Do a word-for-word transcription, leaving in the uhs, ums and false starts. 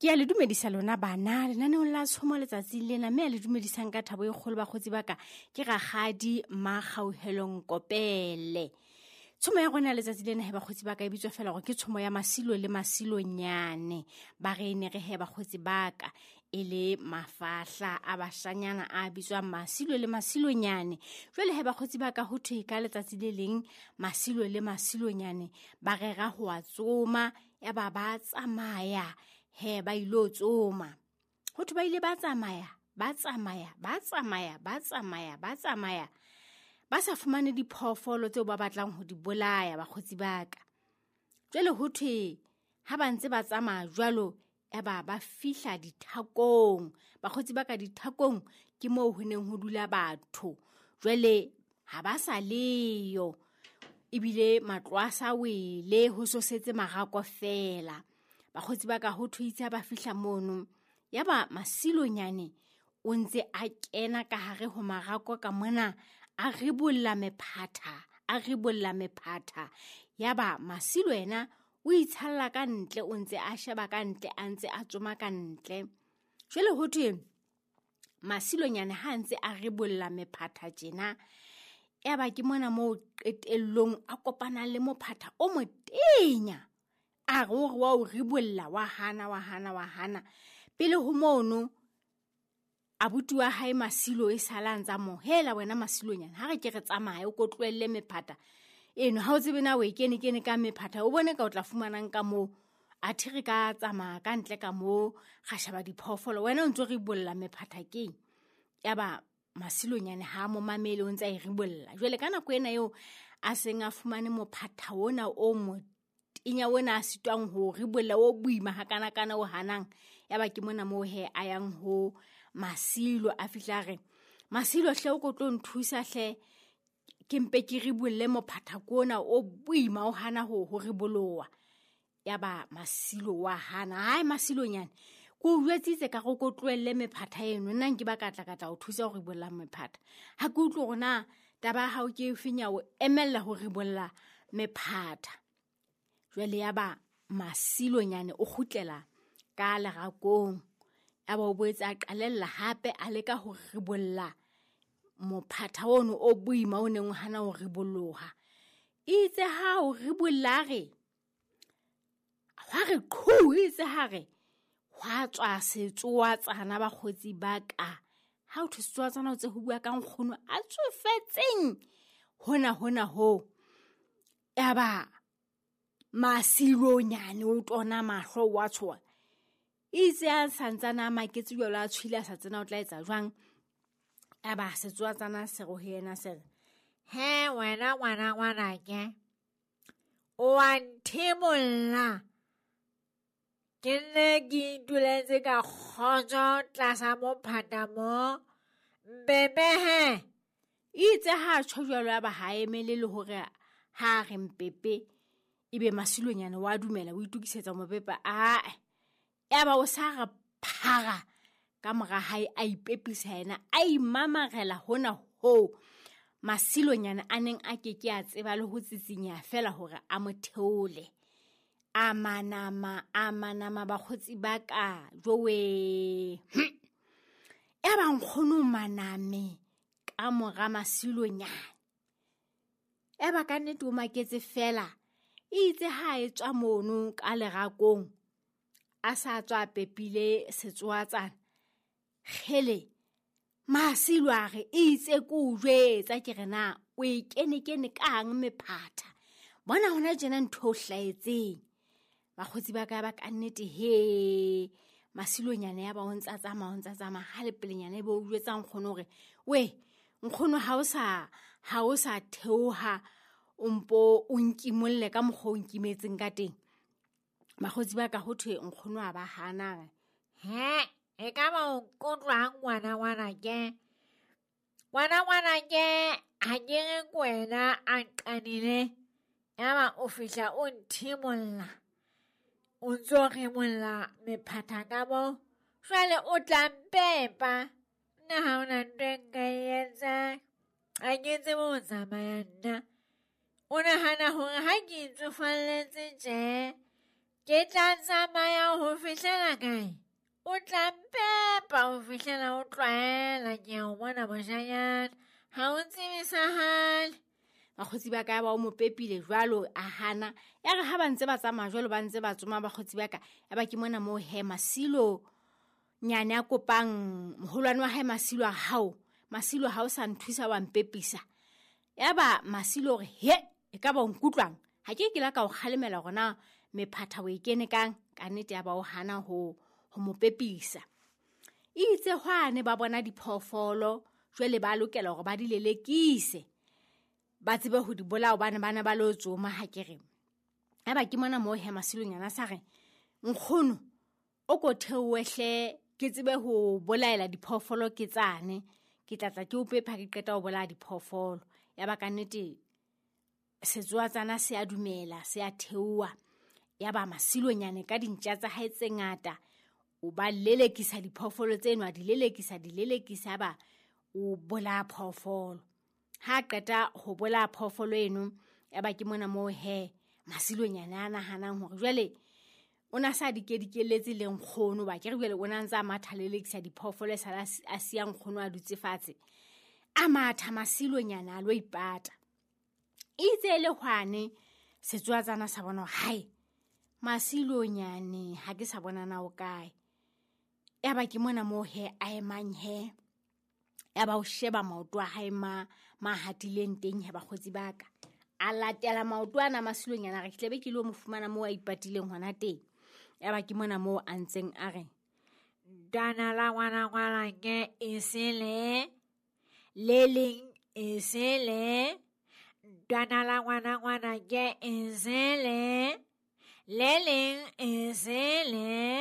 Ke a le dumedisa lona bana lenaneong la tshomo letsatsing lena, mme a le dumedisang ka thabo e kgolo bakgotsi ba ka ke Rakgadi Makgauhelong Kopele. Tshomo ya rona letsatsi lena he bakgotsi ba ka e bitswa fela hore ke tshomo ya Masilo le Masilonyane. Ba re ne re he bakgotsi ba ka e le mafahla a bashanyana a bitswang Masilo le Masilonyane. Jwale he bakgotsi ba ka ho thwe ka letsatsi le leng Masilo le Masilonyane ba rera ho a tsoma, ya ba ba tsamaya he ba ilo tsoma. Ho thwe ba ile ba tsamaya, ba tsamaya, ba tsamaya, ba tsamaya, ba tsamaya. Ba sa fumane diphoofolo tseo ba batlang ho di bolaya bakgotsi ba ka. Jwale ho thwe ha ba ntse ba tsamaya jwalo, ya ba ba fihla dithakong. Bakgotsi ba ka dithakong ke moo ho neng ho dula batho. Jwale ha ba sa leyo, ebile matlo a sa wele, ho so setse marako fela. Bakgotsi ba ka ho thwe itse ha ba fihla mono, ya ba Masilonyane o ntse a kena ka hare ho marako ka mona, a ribolla mephatha, a ribolla mephatha. Ya ba Masilo yena o itshalla ka ntle, o ntse a sheba ka ntle, a ntse a tsoma ka ntle. Jwale ho thwe Masilonyane ha ntse a ribolla mephatha tjena, ya ba ke mona moo qetellong a kopana le mophatha o motenya. A re o re wa o ribolla, wa hana, wa hana, wa hana. Pele ho mono, abuti wa hae Masilo e sala ntsa mo hela wena Masilonyane, ha re ke re tsamaye o ko tlohelle mephatha eno, ha o tsebe na o e kene kene ka mephatha, o bone ka o tla fumanang ka moo. Athe re ka tsamaya ka ntle ka moo, ra sheba diphoofolo, wena o ntso ribolla mephatha keng? Ya ba Masilonyane ha mo mamele, o ntse a e ribolla. Jwale ka nako ena eo a seng a fumane mophatha ona o motenya ona a sitwang ho ribolla, o boima hakanakana o hanang, ya ba ke mona moo he a yang ho Masilo, a fihla a re, Masilo hle o ko tlo nthusa hle, ke mpe ke ribolle mophatha ona o boima o hana ho ho riboloha. Ya ba Masilo wa hana. Hai Masilonyane, ke o jwetsitse ka re o ko tlohelle mephatha eno, nna nke ba ka tla ka tla o thusa ho ribolla mephatha. Ha ke utlwe hore na taba ya hao ke efeng ya o emella ho ribolla mephatha. Jwale ya ba Masilonyane o kgutlela ka lerakong, ya ba o boetse a qalella hape a leka ho ribolla mophatha ono o boima o neng o hana ho riboloha. Itse ha o ribolla re, hwa re qhu, itse ha re, hwa tswa setsoatsana bakgotsi ba ka. Ha o thwe setsoatsana o tse ho bua ka nkgono a tsofetseng hona hona ho. Ya ba Masilonyane o tona mahlo wa tshoha. Itse a santsana a maketse jwalo, a tshwile a sa tsena o tla etsa jwang. Ya ba setsoatsana se re ho yena se re, he wena ngwana ngwanake, o wa nthimolla. Ke nne ke ituletse ka kgotso tlasa mophatha mo, mbebe he. Itse ha tjho jwalo, ya ba ha emele le hore ha re mpepe, ebe Masilonyane wa dumela o itokisetsa mopepa. Ae, ya ba o sa re phara ka mora hae, a ipepisa yena, a imamarela hona ho Masilonyane a neng a ke ke a tseba le ho tsitsinya fela hore a mo theole. A manama, a manama bakgotsi ba ka, jowe. Ya ba nkgono maname ka mora Masilonyane. Ya ba ka nnete o maketse fela. Itse ha e tswa mono ka lerakong, a sa tswa pepile setsoatsana. Kgele, Masilo a re, itse ke o jwetsa ke re na o e kene kene kang mephatha. Bona hona tjena ntho o hlahetseng. Bakgotsi ba ka ba ka nnete he. Masilonyane ya ba o ntsa tsamaya, o ntsa tsamaya, ha le pelenyana e be o jwetsa nkgono hore, we, nkgono ha o sa, ha o sa theoha, o mpo o nkimolle ka mokgwa o nkimetseng ka teng. Bakgotsi ba ka ho thwe nkgono a ba hana. He, e ka ba o nkutlwang ngwana ngwanake? Ngwana ngwanake, ha ke re ke wena a nqanile, ya ba o fihla o nthimolla. O ntso rimolla mephatha ka mo, jwale o tla mpepa. Nna ha hona ntho e nka e etsang, ha ke tsebe ho tsamaya nna. O nahana hore ha ke itsofalletse tje, Ke tla tsamaya ho fihlela kae? O tla mpepa ho fihlela o tlwaela, ke a o bona moshanyana. Ha o tsebe sa hale. Bakgotsi ba ka ba o mo pepile jwalo a hana. Ya re ha ba ntse ba tsamaya jwalo ba ntse ba tsoma bakgotsi ba ka, ya ba ke mona moo he Masilo nyane a kopang moholwane wa hae Masilo a hao. Masilo ha o sa nthusa wa mpepisa. Ya ba Masilo hore he e ka ba o nkutlwang. Ha ke ke la ka o kgalemela hore na mephatha o e kene kang, ka nnete ya ba o hana ho, ho mo pepisa. Itse hwane ba bona diphoofolo, jwale ba lokela hore ba di lelekise. Ba tsebe ho di bolaya hobane ba ne ba lo tsoma ha ke re. Ya ba ke mona moo he Masilonyana sa re, nkgono, o ko theohe hle ke tsebe ho bolaela diphoofolo ke tsane. Ke tla tla ke o pepa ke qeta ho bolaya diphoofolo. Ya ba ka nnete setsoatsana se a dumela, se a theoha. Ya ba Masilonyane ka dintja tsa hae tse ngata, o ba lelekisa diphoofolo tseno, a di lelekisa, di lelekisa, ba o bolaya phoofolo. Ha qeta ho bolaya phoofolo eno, ya ba ke mona moo he Masilonyane a nahanang hore jwale o na sa dikedikelletse le nkgono, ba ke re jwale o na ntse a matha lelekisa diphoofolo, e sala a siya nkgono a dutse fatshe. A matha Masilonyane a lo ipata. Itse le hwane setsoatsana sa bona hore hae Masilonyane ha ke sa bona na o kae. Ya ba ke mona moo he a emang he. Ya ba o sheba maoto a hae ma, ma hatileng teng he bakgotsi ba ka. A latela maoto ana Masilonyane a re ke tlabe ke lo mo fumana moo a ipatileng hona teng. Ya ba ke mona moo a ntseng a re, Ntwana la ngwana ngwana ke e sele, le leng e sele. Ntwana la ngwana ngwana ke e sele, le leng e sele.